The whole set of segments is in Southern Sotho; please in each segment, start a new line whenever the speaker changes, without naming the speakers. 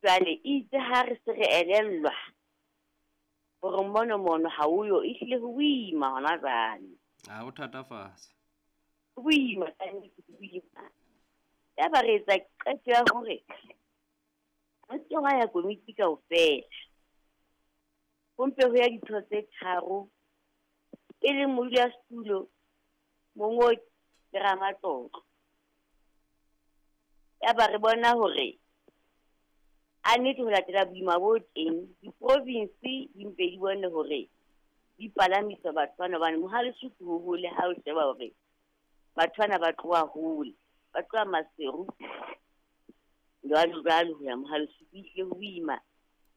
Jwale itse ha re se re elellwa hore mono ha o yo, ehlile ho boima hona jwale.
Ha o thatafatse.
Ho boima kannete, ho boima. Yaba re etsa qeto ya hore ho se ke hwa ya komiti kaofela. Ho mpe ho ya ditho tse tharo, e leng modulasetulo, mongodi le ramatlotlo. Yaba re bona hore a nnete ho latela boima bo teng, di-province di mpe di bone hore di palamisa batho bana hobane Mohale's Hoek ho hole ha o sheba hore batho bana ba tloha hole, ba tloha Maseru jwalo jwalo ho ya Mohale's Hoek. Ehlile ho boima.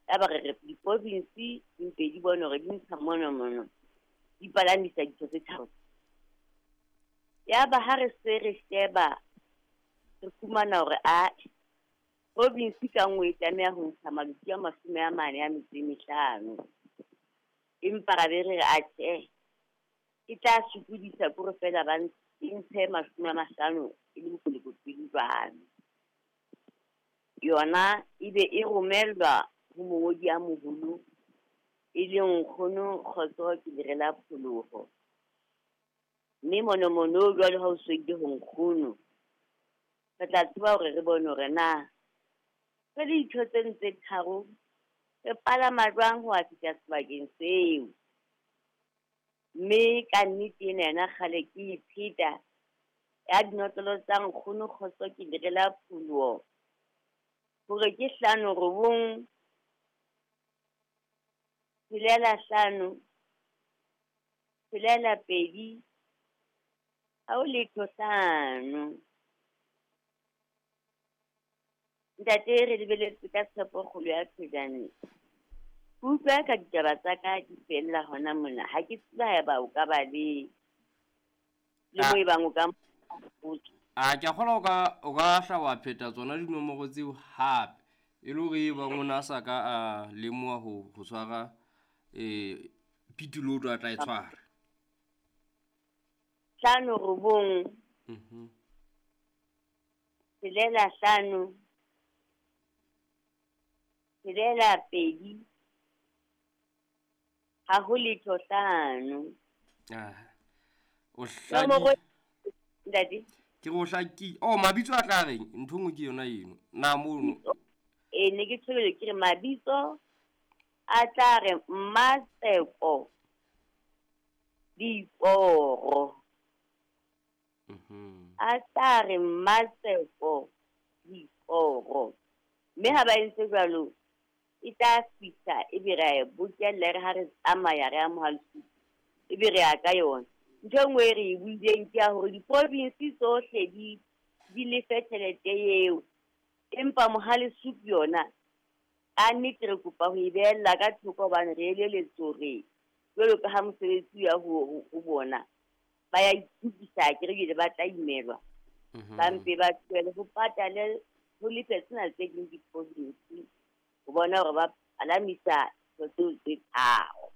Yaba re re di-province di mpe di bone hore di ntsha mono di palamisa ditho tse tharo. Yaba ha re se re sheba, re fumana hore ae, province ka nngwe e tlameha ho ntsha maloti a 45. Empa ra be re re atjhe, e tla sokodisa kore feela ba ntshe 50 e le bokolokotweni jwalo. Yona ebe e romellwa ho mongodi a moholo, e leng nkgono Kgotso ke lere la pholoho. Mme mono jwalo ha o so ile ho nkgono, re tla tseba hore re bone hore na re le ditho tseno tse tharo re palama jwang ho ya fihla sebakeng seo. Mme ka nnete ena yona kgale ke e pheta ya dinotlolo tsa nkgono Kgotso ke lere la pholoho, hore ke 5 9 6 5 6 2 ha ho letho 5. Ntate, re lebeletse ka tshepo kgolo ya thojane. Ke utlwa ka ditaba tsa ka di fella hona mona. Ha ke tsebe haeba o ka ba le mo e bang o ka mpotsa.
A ke a kgolwa o ka hla wa pheta tsona dinomoro tseo hape, e le hore e bang o na sa ka a lemoha ho tshwara pituloto a tla e tshwara.
5 9 6 5 6 2 ha ho letho 5.
O hlaki.
Ntate.
Ke go hlaki. Oh, mabitso a tla reng? Ntho nngwe ke yona eno. Na mono.
Ne ke tshwere ke re mabitso a tla re Mmatseko Diporo. A tla re Mmatseko Diporo. Mme ha ba entse jwalo, e tla fihla ebe re a e bokella re ha re tsamaya re ya Mohale's Hoek, ebe re ya ka yona. Ntho e nngwe e re e buileng ke ya hore di-province tsohle di lefe tjhelete eo, empa Mohale's Hoek yona a nnete re kopa ho e behella ka thoko hobane re eleletswe hore jwalo ka ha mosebetsi ya ho bona ba ya itukisa, ke re ebile ba tla imelwa. Ba mpe ba tlohele ho patale ho lefe tsena tse ding di-province ho bona hore ba palamisa ntho tseo tse tharo.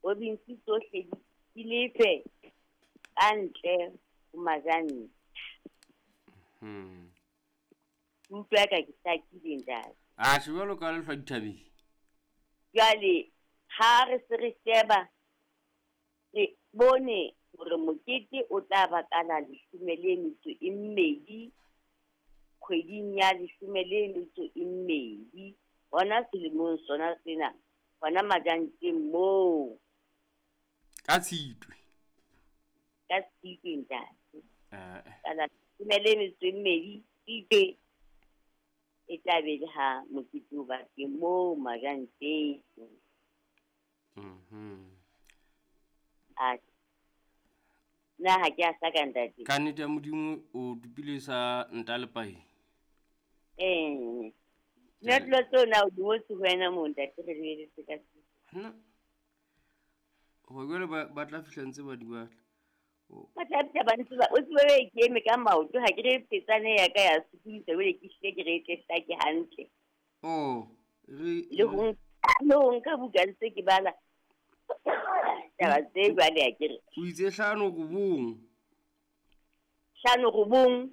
Province tsohle di lefe ka ntle ho Majanta. Utlwa ka ke hlakile ntate.
A tjhe, jwalo ka lehlwa dithabeng.
Jwale ha re se re sheba, re bone hore mokete o tla ba ka la 12 kgweding ya 12 hona selemong sona sena, hona Majanteng moo.
Ka Tshitwe.
Ka Tshitwe ntate. Ka la 12 Tshitwe e tla be le ha mokete o ba teng moo Majanteng. A na ha ke a hlaka ntate.
Ka nnete ya Modimo o dupile sa ntalepae.
Nna tseo na o di ngotse ho wena moo ntate, re lebeletse ka se.
Nna. Ho jwale ba tla fihla ntse ba di batla.
Ba tla fihla ba ntse ba, o tsebe be ke eme ka maoto, ha ke re petsane ya ka ya sokodisa, jwale ke hlile ke re e tle hlake hantle.
Oh, re
Le ho nka buka ntse ke bala taba tse jwale ha ke re.
O itse 5 9.
5 9.